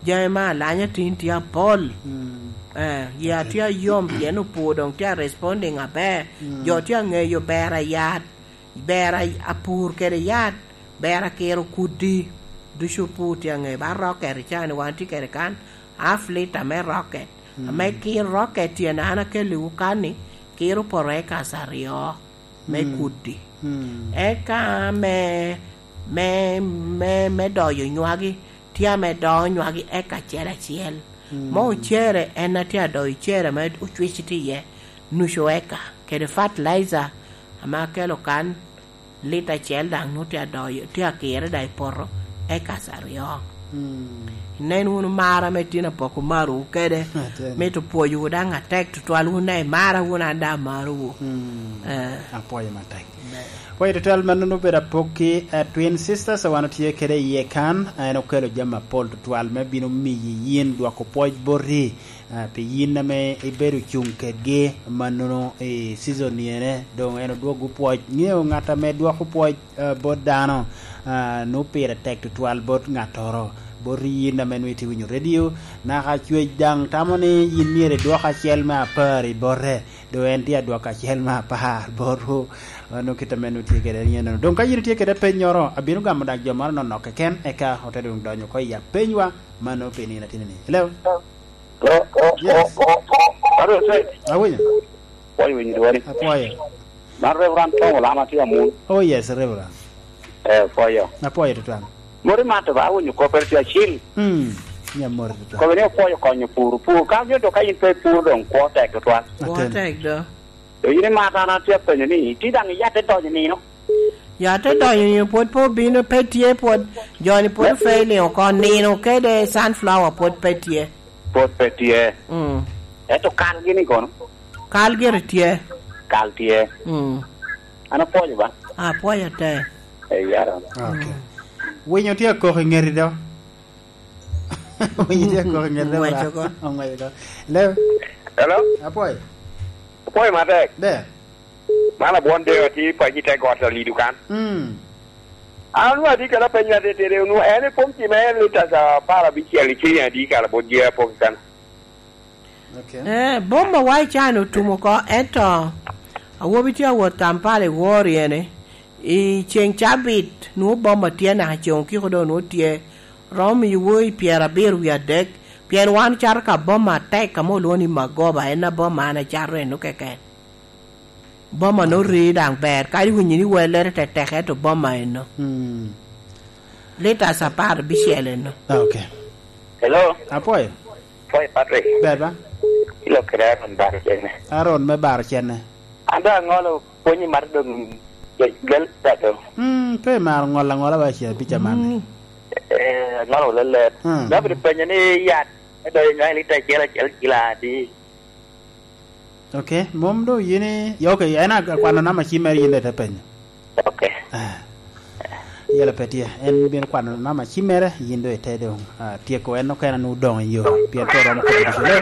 Jami ma alanya tin tye apol. Eh, yia tye ayom pien opur dong tye a responding aber. Jo tye angeyo ber a yat, ber a pur kede yat, ber a kiro kudi ducu opur tye angeyo. Ba rocket i caa ni wan tye kede kan half liter me rocket. Ame kiro rocket tyene an akelliwu kan ni kiro poto acres aryo me kudi. Eka me me me me doyo nywagi Tye ame dongo nywagi eka acel acel. Mo ocere en atye adoyo cere ma ocwici tye iye nucu eka kede fertilizer ame akelo kan lita acel dang nongo tye adoyo tye akire dang i poto acres aryo. Inen wunu mara me tin apoko marowu kede mito pwoyowu dang atek tutwal wun dang imara wunu an dang amarowu. Apwoyo matek. Pwoyo tutwal ma nongo obedo apokki Twin Sisters wan otye kede iye kan. En okelo jami mapol tutwal me bino miyi yin dwoko pwoc boti pi yin ame ibedo cung kedgi ma nongo i season ni ene dong en odwogo pwoc. Ngeyo ngat ame dwoko pwoc bot dano nongo pire tek tutwal bot ngatoro boti yin ame nongo itye winyo radio naka cwec dang tamo ni yin myero idwok acel me apari bote. Dong en tye adwoko acel me apar botwu. Nongo kit ma en tye kwede aye eno. Dong ka in itye kwede peny nyoro, abino gamo dak jo moro nonok keken, eka ote dong donyo oko i apenywa ma nongo pe nino atinni-ni. Hello? Yes. Awinyo. Apwoyo winyo dwoni. Apwoyo. Man Reverend Tom Olama tye amun. Oh yes, Reverend. Eh, apwoyo. Apwoyo tutwal. Moti mato ba awinyo kope tye acil. Mm, nya moti tutwal. Kope ni opwoyo konyo pur. Pur ka nyo to ka in pe ipur dong kwo tek tutwal. Kwo tek do. To in imato an atye apenyo ni ti dang iyatte donyo nino. Yatte donyo nino pwod pe obino pe tye pwod joni pwod ofailing oko nino kede sunflower pwod pe tye. Pwod pe tye. Mm. Ento kal gini kono? Kal gire tye. Kal tye. Mm. An apwoyo ba. Apwoyo te. Okay. Winyo tye akok i ngeti do. Winyo tye akok i ngeti do. Ongweco ko. Ongweco ko. Hello. Hello. Apwoyo. Apwoyo matek. Ber. Man abwon deyo atir paci te got alido kan. Mm. An onongo atye kede apeny ma titidi onongo en i pom cime liters 16 i ciling adi kara bot yer apoki kany. Eh, boma wa i cani otum oko, ento awobi tye awot Kampala i wor ene, i ceng cabit nwo boma tye naka i ceng okiko dong nwo tye romo miyo woi pyerabiro wiye adek, pien wan ocato ka boma atek ka mo olwongo ni Magoba en na boma an acato eno keken. Boma nongo rii dang ber kadi winyo ni wellere tetek ento boma eno liters apar bicel eno. Okay. Hello. Apwoyo. Pwoyo Patrick. Ber ba? Ilok kede Aaron baro cene. Aaron me baro cene. An dong angolo pwonyi mato dong gel do. Mm, pe imaro ngolo angola wa i abica man ni. Eh, angolo lelet. Mm. Dok obedo penyo ni yat me doyo nywang lita acel acel kilo adi. Okay, mom dong yin i, okay, en akwano namba cim mere yin dong ite penyo. Ok. Ah. Yelo pe tye. En bino kwano namba cim mere, yin dong ite dong ah, tyeko en okene nongo odong i yo, pien pe oromo kobo ducu. Hello?